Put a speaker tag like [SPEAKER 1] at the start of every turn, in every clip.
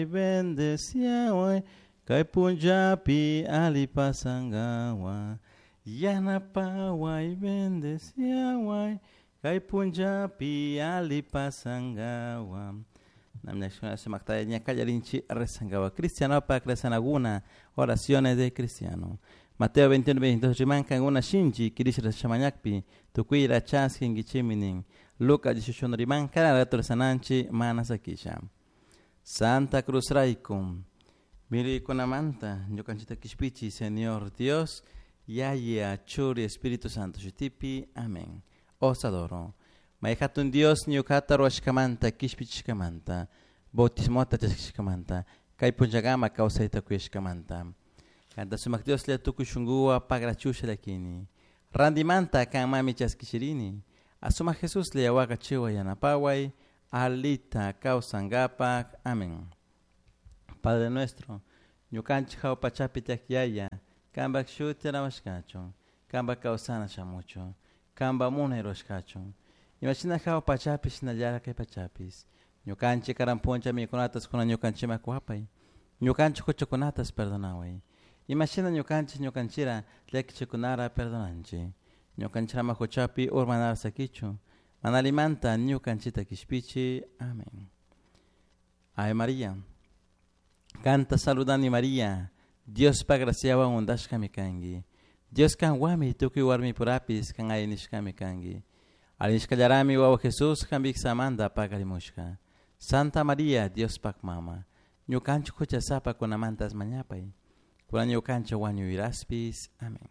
[SPEAKER 1] Bendeciaway kay punllapi ali pasangawa. Yanapaway, bendeciaway kay punllapi ali pasangawa. Cristiano rezanaguna, oraciones de cristiano. Mateo 21, 22, rimankan una shinchi, kirish rachamañakpi, tukuy chaskin gichiminin. Lucas 18, rimankan rato rezananchi, manasakisha. Santa Cruz Raikum, Mirikunamanta, ñukanchita kishpichi, Señor Dios, Yaya, Churi, Espíritu Santo, Shutipi, Amén. Os adoro. Mayhatun Dios, ñukata ruwashkamanta, kishpichishkamanta, bautismota chaskishkamanta, kay punllakama kawsayta kuyashkamanta. Kanta sumak Dios le tukuy shunkuwa pagrachusha llakini. Randimanta kan mami chaskishirini. Asuma Jesús le waka chiwa yanapaway, alita kawsankapak. Amén. Padre nuestro, ñukanchik hawa pachapi tiyak yaya, kanpak shuti alabashkachun, kanpak kawsana shamuchun, kanpak munay rurashkachun. Imashina hawa pachapi shinallara kay pachapis. Ñukanchik karan puncha mikunatas kunan ñukanchikman kuwapay. Ñukanchik huchakunatas perdonaway. Imashina ñukanchik ñukanchira llakichikunara perdonanchik. Ñukanchirama huchapi urmanara sakichun. Mana allimanta ñukanchita kishpichi. Amén. Ave María. Kanta saludani María. Diospa graciawan untashkami kanki. Dios kanwanmi tukuy warmipurapis kan alli nishkami kanki. Alli nishkallarami wawa Jesús kanpik samanta paqarimushka. Santa María, Diospak mama. Ñukanchik huchasapa kunamantas mañapay. Kunan ñukanchik wañuyraspis. Amén.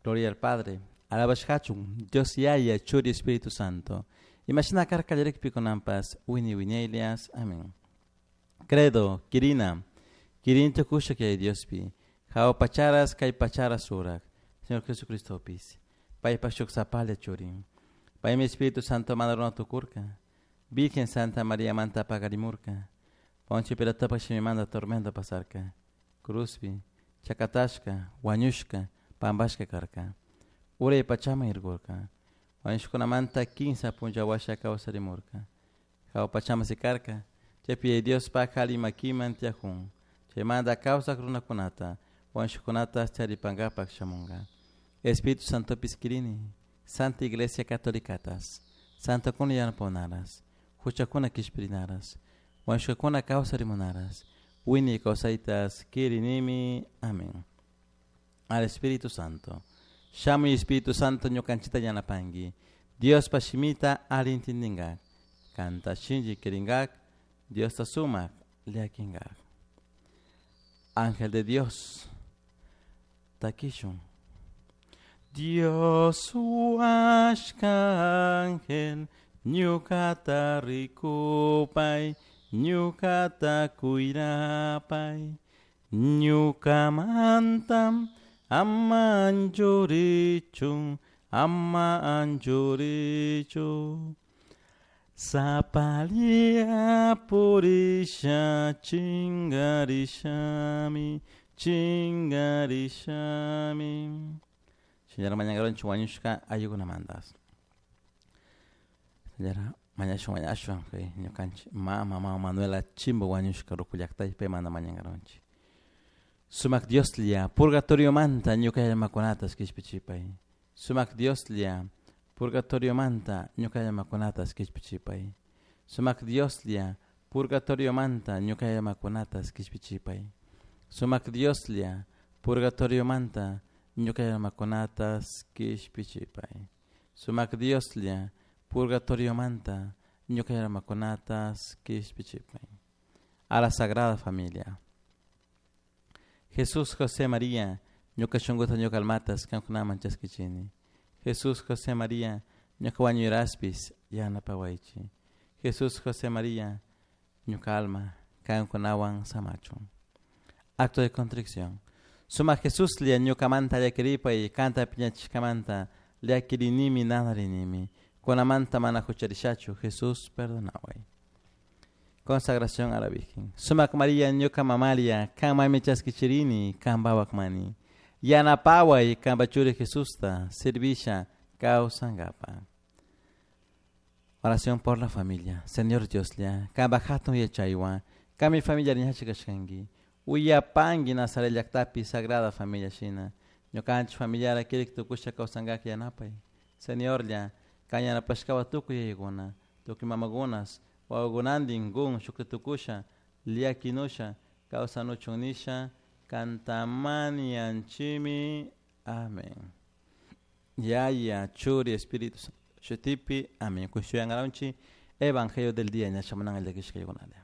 [SPEAKER 1] Gloria al Padre. Alabashkachun, Dios Yaya, Churi, Espíritu Santo. Imashina karka kallarikpi kunanpas, wini wiñaylias. Amén. Credo, Kirina, Kirin tukusha kay Diospi, hawa pacharas kay pacharas surak, Señor Jesucristopis, paypak shuk sapalla churin. Paymi Espíritu Santo mana runa tukurka, Virgen Santa María manta paqarimurka, Poncio Pilatopak shimimanta tormento pasarka, Cruzpi, chakatashka, wañushka, pampashka karka, uray pachaman irkurka, wañushkunamanta kinsa punlla washa kawsarimurka, hawa pachaman sikarka, chaypi Diospak alli makiman tiyakun, chaymanta kawsak runakunata, wañushkunata charipankapak shamunka. Espíritu Santopis kirini, Santa Iglesia Catolicatas, Santokuna yanapakunaras, huchakuna kishpirinaras, wañushkakuna kawsarimunaras, wiñay kawsaytas kirinimi. Amén. Al Espíritu Santo. Shamuy Espíritu Santo ñukanchita yanapanki. Diospa shimita alli intindingak. Kanta shinchi kirinkak, Diosta sumak llakinkak. Ángel de Dios, takishun. Dios huashka ángel, ñukata rikupay, ñukata kuyrapay, ñukamantam ama anchurichun, ama anchurichun. Sapalia purisha chingarishami, chingarishami. Señora mañangaronchi wañushka ayukunamantas. Señora mañashun mañashun kay ñukanchik mama mama Manuela Chimbo wañushka ruku llaqtaypi paymanta mañangaronchik. Sumak Dioslla purgatoriomanta ñuka llamakunatas kishpichipay. Sumak Dioslla purgatoriomanta ñuka llamakunatas kishpichipay. Sumak Dioslla purgatoriomanta ñuka llamakunatas kishpichipay. Sumak Dioslla purgatoriomanta ñuka llamakunatas kishpichipay. Sumak Dioslla purgatoriomanta ñuka llamakunatas kishpichipay. A la Sagrada Familia. Jesús, José, María, ñuka shunkuta ñuka almatas kankunaman chaskichini. Jesús, José, María, ñuka wañuyraspis yanapawaychik. Jesús, José, María, ñuka alma kankunawan samachun. Acto de contrición. Suma Jesúslla ñukamanta llakiripay kanta piñachishkamanta llakirinimi nanarinimi. Kunamanta mana hucharishachu. Jesús, perdonaway. Consagración a la Virgen. Sumak María ñuka mamalia, kanmami chaskichirini, kanpawak mani. Yanapaway kanpa churi Jesusta, servisha kawsankapa. Oración por la familia. Señor Dioslla, kanpa hatun yachaywan, Kami familia ñachikashkanki. Uyapanki Nazaret llaktapi Sagrada Familia shina. Ñukanchik familiara kirik tukusha kawsankak yanapay. Señorlla, kan yanapashkawa tukuy yayakuna, tukuy mamakunas, wawakunantin kun shukta tukusha, llakinusha, kawsanuchun nisha, kantamanianchimi. Amén. Yaya, Churi, Espíritu Santo. Shutipi, amén. Kushuyangaranchi, Evangelio del día, ñachamananga llakishkaykunalla.